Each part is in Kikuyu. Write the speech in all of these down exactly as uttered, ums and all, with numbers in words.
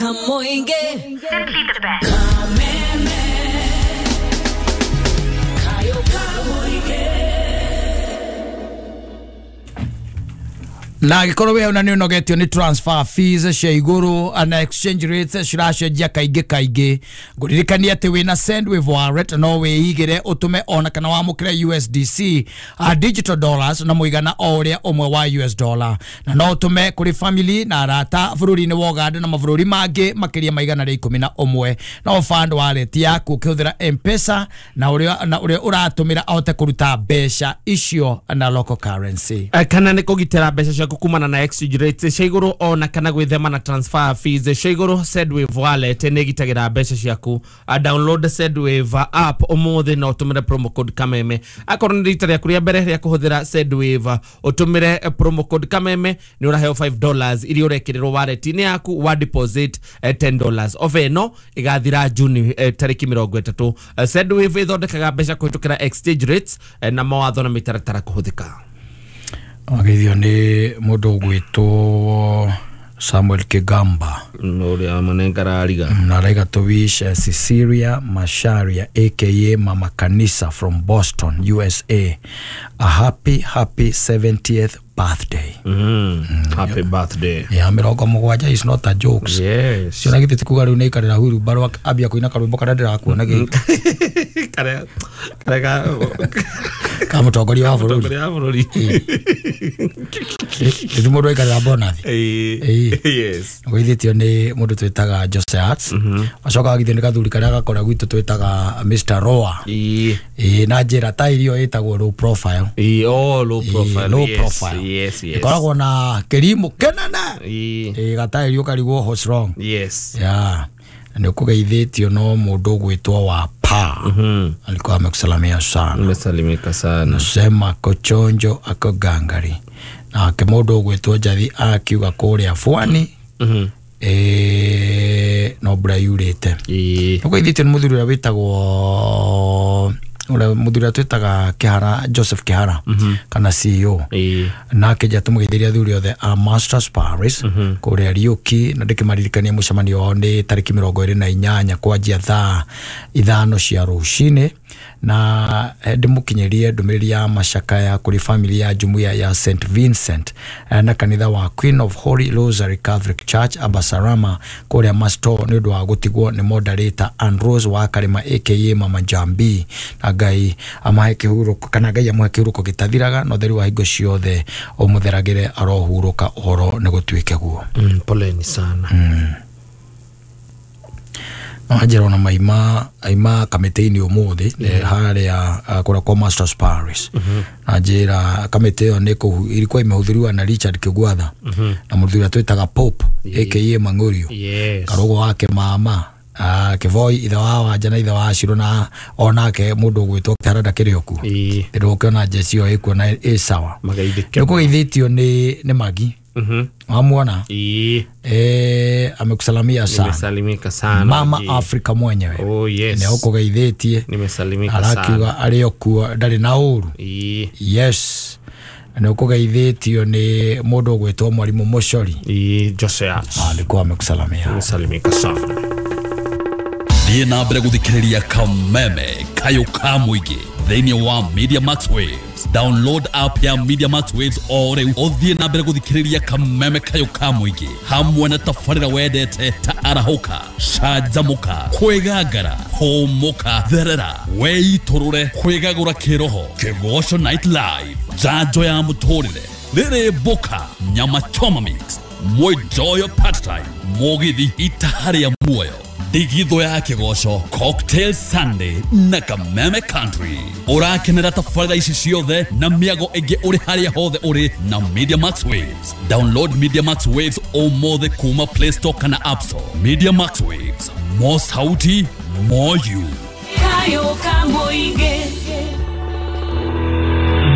Kamoinge. Simply the best. Kameme. Kayo kamoinge. Na gikorwo we ona ni unogetio ni transfer fees cia iguru na exchange rates ciracenjia kaingĩ kaingĩ. Nguririkania atĩ wĩna Sendwave wallet no wĩigĩre ũtũme ona kana wamũkĩre U S D C a digital dollars na mũigana o ũrĩa ũmwe wa U S dollar, na no ũtũme kũrĩ family na arata bũrũri-inĩ wa Uganda na mabũrũri mangĩ makĩria ma igana rĩa ikũmi na ũmwe. No fund wallet yaku ũkĩhũthĩra M-Pesa na ũrĩa na ũrĩa ũratũmĩra ahote kũruta mbeca icio na local currency. Kana nĩ kũgitĩra mbeca ciaku kumana na exchange rates cia igũrũ ona kana gwĩthema na transfer fees cia igũrũ. Sendwave wallet nĩ ĩgitagĩra mbeca ciaku. Download Sendwave app ũmũthĩ na ũtũmĩre promo code Kameme. Akorwo nĩ rita rĩaku rĩa mbere rĩa kũhũthĩra Sendwave, ũtũmĩre promo code Kameme nĩ ũraheo five dollars iria ũrekĩrĩrwo wallet-inĩ yaku wa deposit ten dollars. Offer ĩno ĩgathira Juni tarĩki mĩrongo ĩtatũ. Sendwave ĩthondekaga mbeca kũhĩtũkĩra exchange rates na mawatho na mĩtaratara kũhũthĩka. Wageithio nĩ mũndũ ũgwĩtwo Samuel Kigamba ũrĩa manengara ariga na araiga to wish Cecilia Masharia aka Mama Kanisa from Boston, U S A a happy happy seventieth birthday. Mm. Mm. Happy birthday. Yeah, mĩrongo mũgwanja is not a joke. Yes. Ciona githĩ ti kuga rĩu nĩ aikarĩra wheelbarrow ambia kũina karwĩmbo karĩa ndĩrakuona gĩkĩ. Karĩa karĩa ka ka mũtongoria wa bũrũri. Mũtongoria wa bũrũri. Nĩ mũndũ aikarĩra bonathi. Yes. Gũithĩtio nĩ mũndũ twĩtaga Jose Arts. Acoka agithio nĩ gathuri karĩa gakora gwitũ twĩtaga Mister Roa. Ĩĩ na njĩra ta irio ĩtagwo low profile. Ĩĩ, oh low profile. Low profile. Yes, yes. Ikoragwo na kĩrimũ kĩnene. Ĩĩ gata irio karigwo what's wrong. Yes. Yeah. Nĩ ũkũgeithĩtio no mũndũ ũgwĩtwo wa pa. Mhm. Alikuwa amekusalamia sana. Nimesalimika sana. Nasema kochonjo ako gangari. Na ke mũndũ ũgwĩtwo Njathi akiuga kũrĩa Bwani. Mhm. Eh no mbura yurĩte. Ĩĩ. Ũkũgeithĩtio nĩ mũthuri ũrĩa wĩtagwo ura muthuri twitaga Kihara Joseph Kihara mm -hmm. kana C E O e. nake ja tumugeithiria athuri othe a Masters Paris mm -hmm. kuria Riuki na ndikimaririkania mucemanio wao ni tariki mirongo iri na inyanya kwanjia thaa ithano cia rucini na ndimukinyirie ndumiriri ya macakaya kuri family ya jumuiya ya Saint Vincent na kanitha wa Queen of Holy Rosary Catholic Church Abasarama kuria Masto ni undu wa gutigwo ni moderator Ann Rose wa Karima aka Mama Jambi na Ngai amahe kihuruko kana Ngai amahe kihuruko gitathiraga no theri wa hingo ciothe umutheragire arohuruka uhoro ni gutuike guo. Mm, poleni sana. Mm. Anjera na maima aima kamite-ini umuthi haria kura kwa Masters Paris. Anjera kamite iyo ni ilikuwa imehudhuriwa na Richard Kigwatha na muthuri twitaga Pope aka Mangurio. Karugo wake mama ah Kivoi ithe wa Wanja na ithe wa Ciro na onake mundu ugwitwo Kihara ndakĩrĩ o kuo. Ndĩrũkĩona njeci ĩyo ĩkuo na ĩ sawa. Nĩkũgeithĩtio nĩ nĩ Magi. Mhm. Wamuona? Eh. Eh, amekusalamia sana. Nimesalimika sana. Mama Afrika mwenyewe. Oh yes. Nĩ ũkũgeithĩtie. Nimesalimika sana. Arakiuga arĩ o kuo ndarĩ na ũru. Eh. Yes. Nĩ ũkũgeithĩtio nĩ mũndũ ũgwĩtwo Mwalimu Mucori. Eh, Jose. Alikuwa amekusalamia. Nimesalimika sana. Thiĩ na mbere gũthikĩrĩria Kameme Kayo ka mũingĩ thĩinĩ wa Media Max Waves. Download app ya Media Max Waves o rĩu ũthiĩ na mbere gũthikĩrĩria Kameme Kayo ka mũingĩ hamwe na tabarĩra wendete ta arahũka, canjamũka, kwĩgangara, hũmũka, therera, weitũrũre, kwĩgagũra kĩroho, Kĩgoco Night Live, njanjo ya mũtũrĩre, rĩrĩ mboka, nyama choma mix, mwenjoyo part time, mũgithi itaharĩa muoyo, Ndigitho ya Kĩgoco, Cocktail Sunday na Kameme Country. Ũrakenera tabarĩra ici ciothe na mĩago ĩngĩ ũrĩ harĩa hothe ũrĩ na Media Max Waves. Download Media Max Waves ũmũthĩ kuma Play Store kana App Store. Media Max Waves, more sauti, more you. Kayo Kamoige.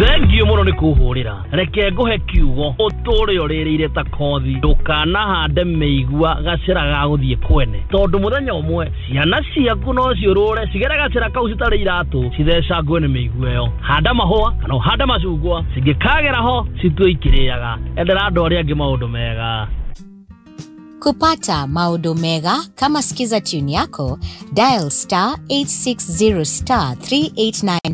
Thengio muno ni kuhurira reke nguhe kiugo uture uririire ta kothi ndukanahande miigua gacira ga guthie kwene tondu muthenya umwe ciana ciaku no ciurure cigere gacira kau citari iratu cithecangwe ni miigua iyo. Handa mahua kana uhande macungwa cingikagera ho citue ikiriaga. Endera andu aria angi maundu mega. Kupata maodo mega kama skiza tune yako, dial star eight six zero star three eight nine